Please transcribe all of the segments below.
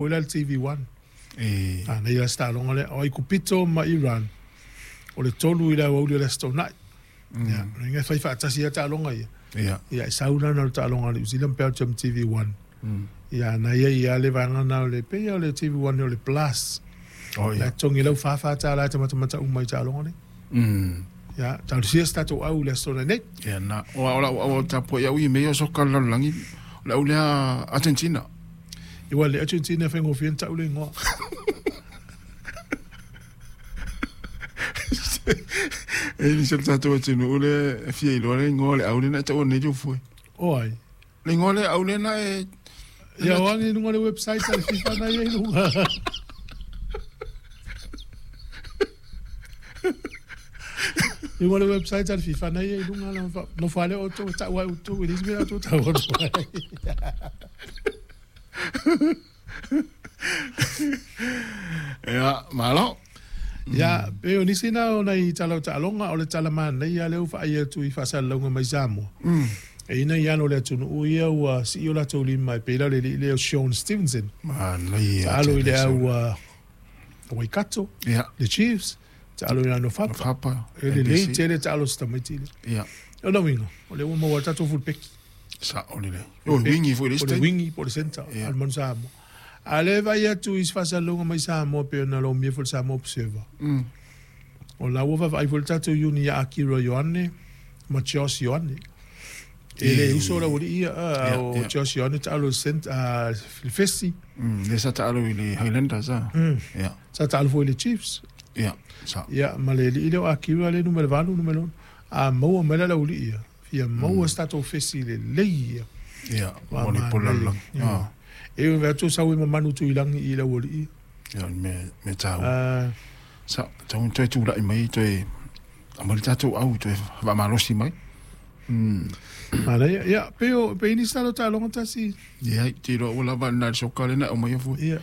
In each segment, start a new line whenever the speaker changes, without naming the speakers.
Foi la le TV One. A nei la se taaloga lea. O Aikupito ma Iran, o le tolu i le aoauli o le Aso Toonai. Ia, o lona uiga e fai faatasi lava taaloga ia. Ia, e sau la na o le taaloga a Niu Sila ma Belgium TV One. Ia, na i ai lava le vaega lena o le, pei lava o le TV One o le Plus. La e totogi lau $44 e tamatamata uma i taaloga nei. Ia, talosia se tatou au i le Aso Toonai nei.
Ia, na, o lau au tapuai au i mea o soka le lalolagi, o le au lea Argentina.
Ua le Argentina e faigofie ona tau le igoa.
E nisi o le tatou atunuu le e fia iloa le igoa o le au lena e taua nei Tufue.
O ai?
Le igoa le au lena e.
Ia o agi i luga o le website a le FIFA na ia i luga. I luga o le website a le FIFA na ia i luga nofo lea outou e tau ai outou e leai se mea outou tau atu ai.
Ia, malo.
Ia, pei o nisi na o nai tala o taaloga, o le tala manaia lea ua faai atu i faasalalauga mai Samoa. E ina ia o le atunuu ia ua sii o latou lima e pei la o le alii lea o Shaun Stevenson.
Manaia.
Taalo i le au a Waikato, le Chiefs, taalo i le Nofapa.
Nofapa.
E lelei tele taalo si tamaiti lea.
Ia.
O lona uiga, o lea ua maua tatou fulupeki.
Sao lelei. O le wingi foi le isi
O le wingi po o le centre o le Manu Samoa. A o lea e vaai atu i se faasalalauga mai Samoa pei ona lomia foi le Samoa Observer. O la ua vaavaai foi le tatou uni ia Akira Ioane ma Josh Ioane. E le uso le aualii ia, o Josh Ioane taalo i le centre, le fesi.
Lea sa taalo i le Highlanders a. Ia.
Sa taalo foi i le Chiefs.
Ia, sao.
Ia, ma le alii lea o Akira lea e numera 8, numera 6. A maua mai la le aualii ia, fia maua se tatou fesi lelei ia.
Ia, mo le polo lalolagi.
E ui atu sau e mamanu Tuilagi i le aualii.
Ia, o le mea taua. Sa, tau toe tulai mai, toe aumai le tatou au, toe faamalosi mai.
Manaia, ia, pei o, pei nisi tala o taaloga tasi.
Ia, te iloa ua lava na le soka lena e aumaia fua.
Ia,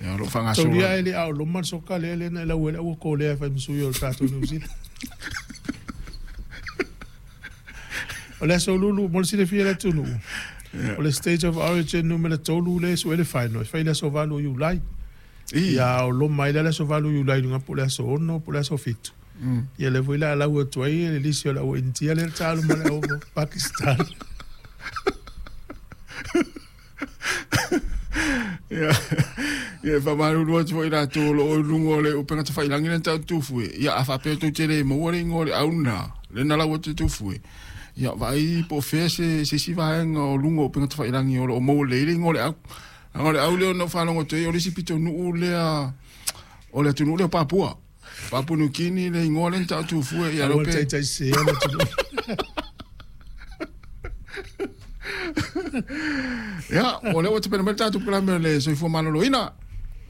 Ia, o lo o faagasolo.
Taulia e le ao loma le soka lea lena e lau ai le aua kolea e fai ma sui o le tatou New Zealand. O le aso Lulu, mo le silafia e le atunuu, o le State of Origin numera 3 lea e sue le final, e fai i le aso 8 o Iulai. Ia ao loma ai la le aso 8 o Iulai i luga po o le aso 6 po o le aso 7. Ia lea foi la lau atu ai le lisi o le au Initia lea le taalo ma le au Pakistan.
Ia, ia e faamalulu atu foi i latou o lo o i luga o le upega tafailagi lea na tau Tufue. Ia, a faapea tou te le maua le igoa o le au lena, lea na lau atu e Tufue, ia vaai po o fea se, se isi vaega o luga o upega tafailagi o lo o maua lelei le igoa o le au. Leaga o le au lea na ou faalogo atu ai, o le isi pitonuu lea o le atunuu lea o Papua. Papua New Guinea le igoa lea na tau Tufue. Ia,
Aua le taitai sese le atunuu.
Ia, o lea ua tapena mai le tatou polokalame o le soifua maloloina.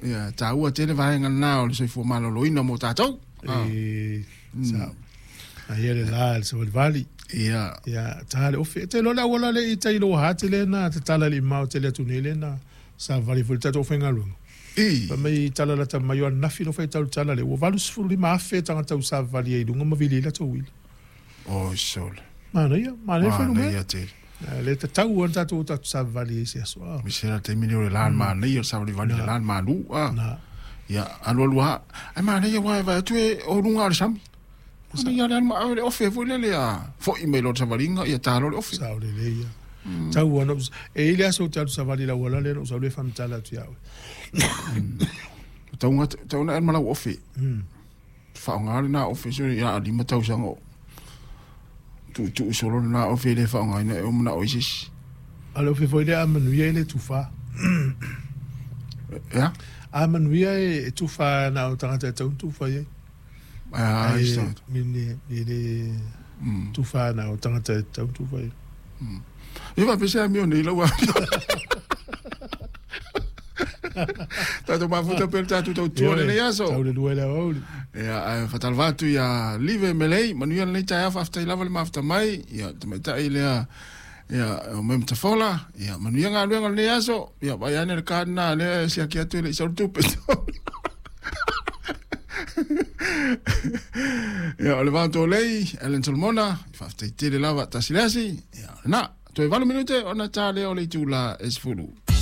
Ia, taua tele vaega lena o le soifua maloloina mo tatou.
E, sao. Aia le la le savalivali.
Ia.
Ia, ta le ofe. Te iloa le auala le i tai loa ha te le na tatala le imao tele atu nei le na savali foi le tatou faigaluega.
I.
Fai mai tala lata mai o ananafi no faitau le tala lea ua 85,000 tagata ua savavali ai i luga ma vili ai latou uila.
Oi sole.
Manaia, manaia fuainumera.
Manaia tele.
Le tatau lava ona tatou o tatou savavali ai i se aso.
A se la taimi lea o le la manaia o le savalivali i le la malu. A.
Na.
Ia, alu alu lava. Ae manaia aua e vaai atu e o luga o le sami. Manaia le alu ma le ofe foi lele a foi mai loa le savaliga ia ta loa le ofe.
Sao lelei ia. Tau lava ona ou, e i ai le aso ou te alu savali i le auala lea ona ou sau lea faamatala atu ia oe.
Tau tau na ma lau ofe. Faaaoga lena ofe so ia 5 tausaga o tuutuu solo lena ofe e le faaaogaina e o manao ai se isi.
A o le ofe foi lea a manuia e le tufa.
Ea?
A manuia e tufa na o tagata e tatau ona tufa i ai.
Ai,
e le tufa na o tagata e tatau ona tufa i ai.
E faapea se amio nei lau amio. Tatou mafuta pea le tatou tautua lenei aso.
Tau le lua i le aoauli.
Ia, ae faatalofa atu ia Live Melei, manuia lenei taeao, faafetai lava le mafuta mai. Ia, tamaitai lea, ia, o mai Matafola, ia, manuia galuega lenei aso. Ia, vaai ane le card lena lea e siaki atu e le i sau le tupe. Ia, o le Vaotolei, Allan Solomona, faafetai tele lava, tasi le asi. Ia, lena, toe 8 minute ona ta lea o le itula e 10.